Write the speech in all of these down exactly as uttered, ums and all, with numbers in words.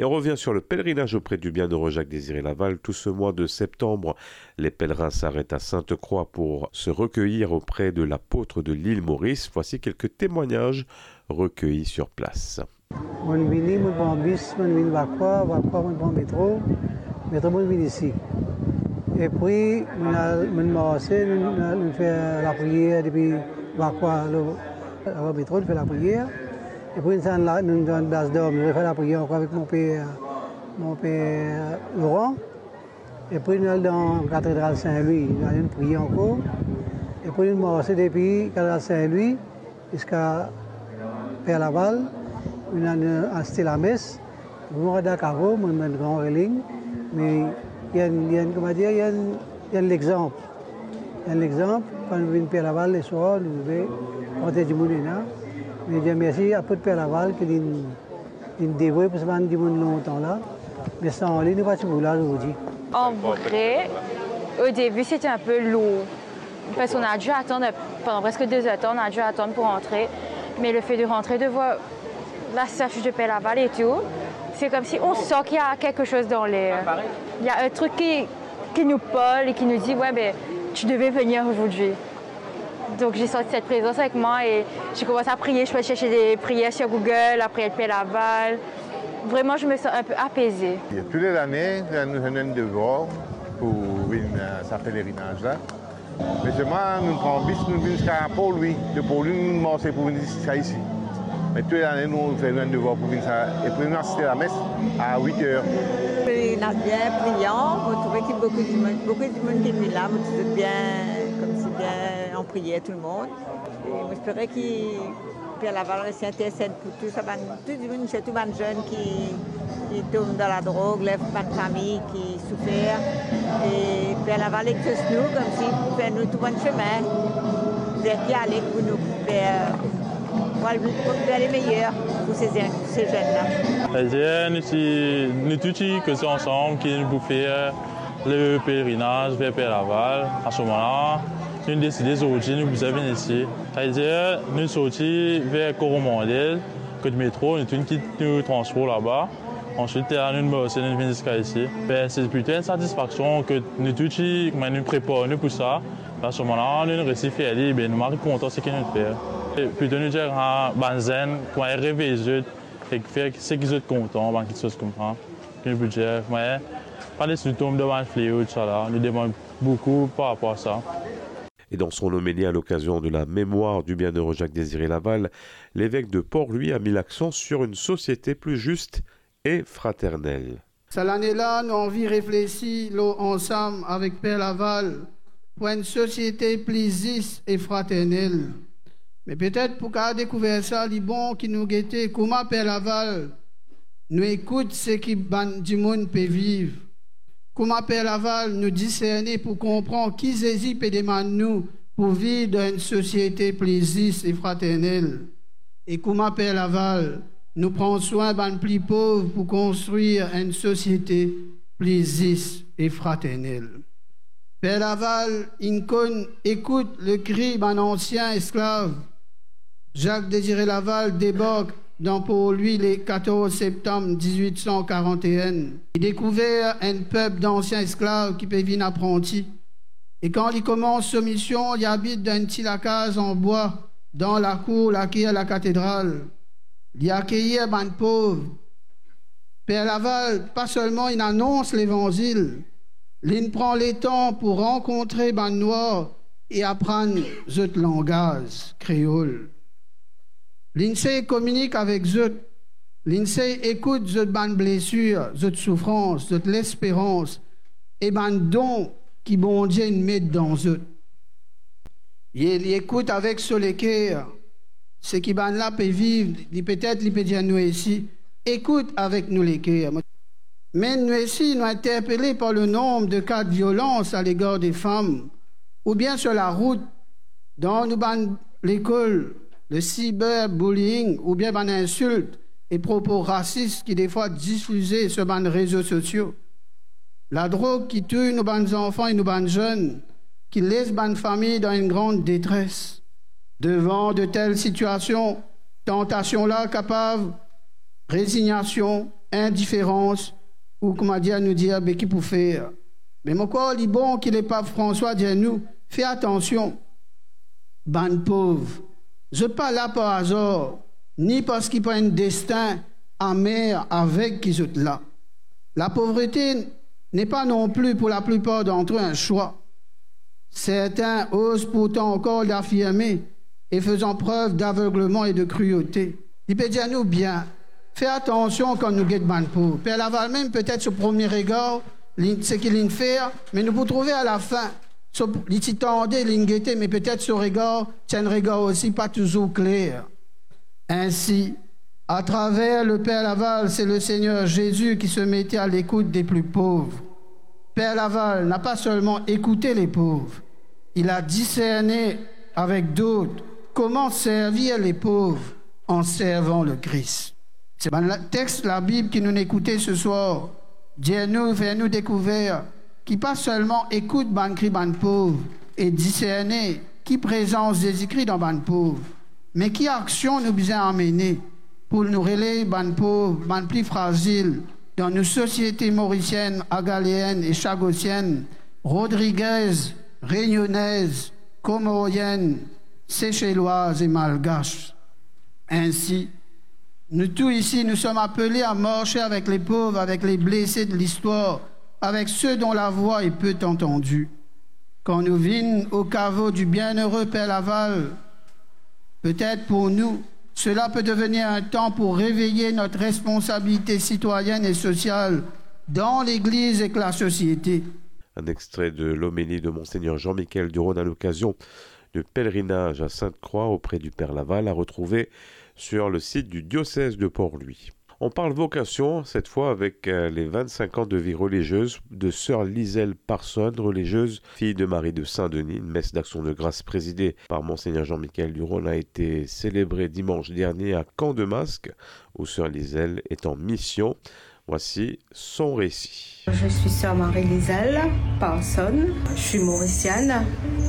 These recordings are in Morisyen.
Et on revient sur le pèlerinage auprès du bienheureux Jacques Désiré Laval. Tout ce mois de septembre, les pèlerins s'arrêtent à Sainte-Croix pour se recueillir auprès de l'apôtre de l'île Maurice. Voici quelques témoignages recueillis sur place. Mo'nn vini, mo'nn pran bis, mo'nn vinn Vakwa, Vakwa mo'nn pran metro, metro mo'nn vinn isi. Epri mo'nn al, mo'nn marse, nou, nou, nou fer lapriyer depi Vakwa, lor, lor metro, nou fer lapriyer. Epri nou tann la, nou tann plas dormi, nou fer lapriyer ankor avek monper, monper Laurent. Epri nou al dan katedral Sin Lwi, nou al priye ankor. Epri nou marse depi katedral Sin Lwi ziska Per Laval, nou al asiste lames. Mo rad dan kavo, mo, mo gran reling, me li enn, li enn, kouma dir, li enn, li enn lexanp. Li enn lexanp, kan nou vinn Per Laval leswar, nou trouve kantite dimoun ena. Me Dieu merci, apot Per Laval, ki linn, linn devoue pou sa bann dimoun lontan la. Me san li, nou pa ti pou la zordi. En vrai, au début, c'était un peu lourd. Parce qu'on a dû attendre pendant presque deux heures de temps, on a dû attendre pour rentrer. Mais le fait de rentrer, de voir la statue de Père Laval et tout, c'est comme si on sent qu'il y a quelque chose dans l'air. Il y a un truc qui, qui nous parle et qui nous dit, ouais, ben, tu devais venir aujourd'hui. Donc j'ai senti cette présence avec moi et j'ai commencé à prier. Je suis allée chercher des prières sur Google, la prière de Père Laval. Vraiment, je me sens un peu apaisée. Tou lane, nou, nou, nou devwar pou vinn, euh, sa pelerinaz la. Me selman, nou pran bis, nou vinn ziska Port Louis. De Port Louis, nou marse pou vinn ziska isi. Me tou lane, nou fer nou devwar pou vinn sa. Epri nou asiste lames a wit er. Pelerinaz bien priyan, mo trouve ki boukou dimoun, boukou dimoun ki vinn la, mo trouve bien, koumsi bien an priyer tou lemonn. E mo espere ki Per Laval resi intersed pou tou sa bann, tou dimoun, sirtou bann zenn ki, ki tom dan ladrog, ler bann fami ki soufer. E Per Laval ek zot nou, koumsi pou fer nou tou bann sime. Fer ki ale pou nou fer, pou al, pou fer le meyer pou se zenn, se zenn la. Savedir, nou ti, nou tou ti koze ansam ki nou pou fer le pelerinaz ver Per Laval. A se moman la, nou deside zordi nou bizin vinn isi. Savedir, nou sorti ver Coromandel, kot metro, nou tou'nn kit nou transpor laba. Answit, la nou marse, nou vinn ziska isi. Be, se plito enn satisfaksion ki nou tou ti, kouma nou prepar nou pou sa. A se moman la, nou, nou resi fer li, be, nou mari kontan seki nou fer. E plito nou dir, a, bann zenn, kouma revey zot, e fer seki zot kontan, bann kiksoz koumsa. Ki nou pou dir, me pa les nou tom dan bann fleo, tousala. Nou demann boukou par rapor a sa. Et dans son homélie à l'occasion de la mémoire du bienheureux Jacques Désiré Laval, l'évêque de Port-Louis a mis l'accent sur une société plus juste et fraternelle. Sa lane la, nou anvi reflesi lor ansam avek Per Laval pou enn sosiete pli zis e fraternel. Me petet pou kav dekouver sa, li bon ki nou gete kouma Per Laval, nou ekout seki bann dimoun pe viv. Kouma Per Laval, nou diserne pou konpran ki Zezi pe demann nou pou viv dan enn sosiete pli zis e fraternel. E kouma Per Laval, nou pran swin bann pli pov pou konstrir enn sosiete pli zis e fraternel. Per Laval inn konn ekout lekri bann ansien esklav. Jacques Désiré Laval debark dan Port-Louis le katorz septam diz-wit san karant-e-enn. Li dekouver enn pep dansien esklav ki pe vinn apranti. E kan li koumans so mision, li abit dan enn ti lakaz an bwa, dan lakour laker lakatedral. Li akeyir bann pov. Per Laval pa selman inn anons Levanzil, linn pran letan pou rankontre bann nwar e aprann zot langaz kreol. Linn sey kominik avek zot, linn sey ekout zot bann blesir, zot soufrans, zot lesperans e bann don ki Bondie inn met dan zot. Li, li ekout avek so leker seki bann la pe viv, li petet li pe dir nou osi, ekout avek nou leker. Me nou osi, nou interpele par le nonb de ka de violans alegar de fam, oubien sir larout, dan nou bann lekol, le cyberbullying oubien bann insilt e propo rasis ki defwa difize sir bann rezo sosio. Ladrog ki touy nou bann zanfan e nou bann zenn, ki les bann fami dan enn gran detres. Devan de tel sitiasion, tantasion la kapav rezignasion, indiferans, ou kouma dir, nou dir, be ki pou fer. Me mo krwar li bon ki Lepap Franswa dir nou, fer atansion, bann pov, zot pa la par azar, ni parski pa enn destin amer aveg ki zot la. Lapovrete n'est pas non plus pour la plupart d'entre eux un choix. Certains osent pourtant encore l'affirmer et faisant preuve d'aveuglement et de cruauté. Li pe dir nou bien, fer atansion kan nou get bann pov. Per Laval mem, petet so premie regar, li, seki li'nn fer, me nou pou trouve alafin, so, li ti tande, li'nn gete, me petet so regar, ti enn regar osi pa touzour kler. Ainsi, à travers le Père Laval, c'est le Seigneur Jésus qui se mettait à l'écoute des plus pauvres. Père Laval n'a pas seulement écouté les pauvres, il a discerné avec d'autres comment servir les pauvres en servant le Christ. Se bann la, text Labib ki nou'nn ekoute seswar, dir nou, fer nou dekouver ki pa selman ekout bann kri bann pov e diserne ki prezans Zezi Kri dan bann pov, me ki aksion nou bizin amene pou nou relev bann pov, bann pli frazil dan nou sosiete morisienn, agaleyenn e chagosienn, rodrigez, reyonez, komorienn, seselwaz e malgas. Ainsi, nous tous ici, nous sommes appelés à marcher avec les pauvres, avec les blessés de l'histoire, avec ceux dont la voix est peu entendue. Quand nous vîn au caveau du bienheureux Père Laval, peut-être pour nous, cela peut devenir un temps pour réveiller notre responsabilité citoyenne et sociale dans l'Église et que la société. Un extrait de l'homélie de Monseigneur Jean-Michel Durosne à l'occasion de pèlerinage à Sainte-Croix auprès du Père Laval, à retrouver sur le site du diocèse de Port-Louis. On parle vocation, cette fois avec, euh, les vingt-cinq ans de vie religieuse de sœur Liselle Parson, religieuse, fille de Marie de Saint-Denis. Une messe d'action de grâce présidée par Monseigneur Jean-Michel Durosne a été célébrée dimanche dernier à Camp de Masque, où sœur Liselle est en mission. Voici son récit. Je suis sœur Marie-Liselle Parson. Je suis mauricienne,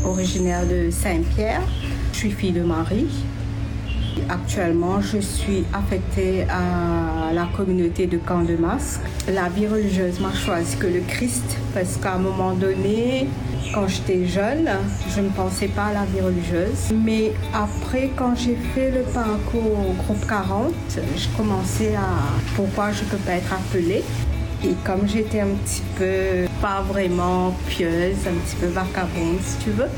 originaire de Saint-Pierre. Je suis fille de Marie. Actuellement, je suis affectée à la communauté de Camp de Masque. La vie religieuse m'a choisi que le Christ, parce qu'à un moment donné, quand j'étais jeune, je ne pensais pas à la vie religieuse. Mais après, quand j'ai fait le parcours au groupe quarante, je commençais à, pourquoi je peux pas être appelée. Et comme j'étais un petit peu, pas vraiment pieuse, un petit peu vagabonde, si tu veux,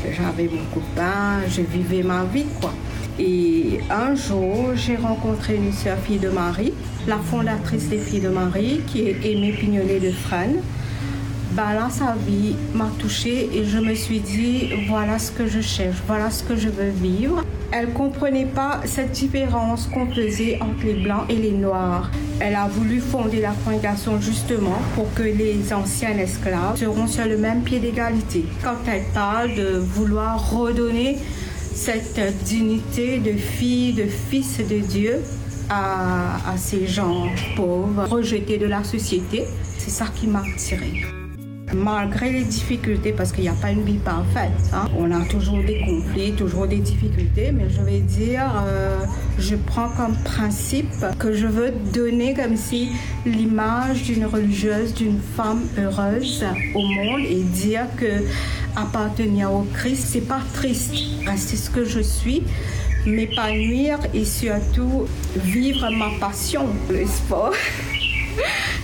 j'avais mon copain, je vivais ma vie, quoi. Et un jour, j'ai rencontré une sœur fille de Marie, la fondatrice des Filles de Marie, qui est Aimée Pignonnet de Fresnes. Ben là, sa vie m'a touchée et je me suis dit, voilà ce que je cherche, voilà ce que je veux vivre. Elle comprenait pas cette différence qu'on faisait entre les blancs et les noirs. Elle a voulu fonder la congrégation justement pour que les anciens esclaves seront sur le même pied d'égalité. Quand elle parle de vouloir redonner cette dignité de fille, de fils de Dieu à, à ces gens pauvres, rejetés de la société, c'est ça qui m'a attirée. Malgré les difficultés, parce qu'il n'y a pas une vie parfaite, hein, on a toujours des conflits, toujours des difficultés, mais je vais dire, euh, je prends comme principe que je veux donner comme si l'image d'une religieuse, d'une femme heureuse au monde et dire que appartenir au Christ, c'est pas triste. Rester ce que je suis, m'épanouir et surtout vivre ma passion, le sport.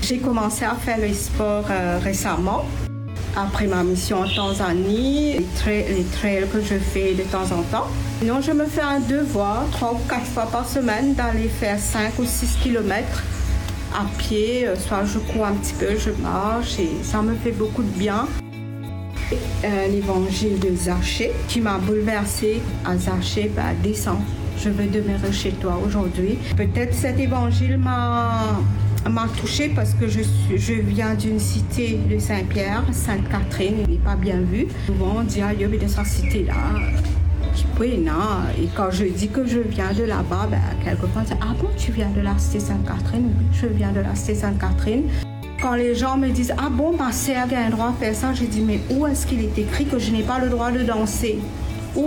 J'ai commencé à faire le sport, euh, récemment. Après ma mission en Tanzanie, les tra-, les trails que je fais de temps en temps. Sinon, je me fais un devoir, trois ou quatre fois par semaine, d'aller faire cinq ou six kilomètres à pied. Euh, soit je cours un petit peu, je marche, et ça me fait beaucoup de bien. Un évangile de Zachée qui m'a bouleversée. À Zachée, bah, descends, je veux demeurer chez toi aujourd'hui. Peut-être cet évangile m'a, m'a touchée parce que je suis, je viens d'une cité de Saint-Pierre, Sainte-Catherine, il n'est pas bien vu. Souvent, on dit, ah, il y a des cités là, qui peut, non. Et quand je dis que je viens de là-bas, ben, quelquefois, on dit, ah bon, tu viens de la cité Sainte-Catherine ? Oui, je viens de la cité Sainte-Catherine. Quand les gens me disent, ah bon, ma sœur a un droit à faire ça, je dis, mais où est-ce qu'il est écrit que je n'ai pas le droit de danser ?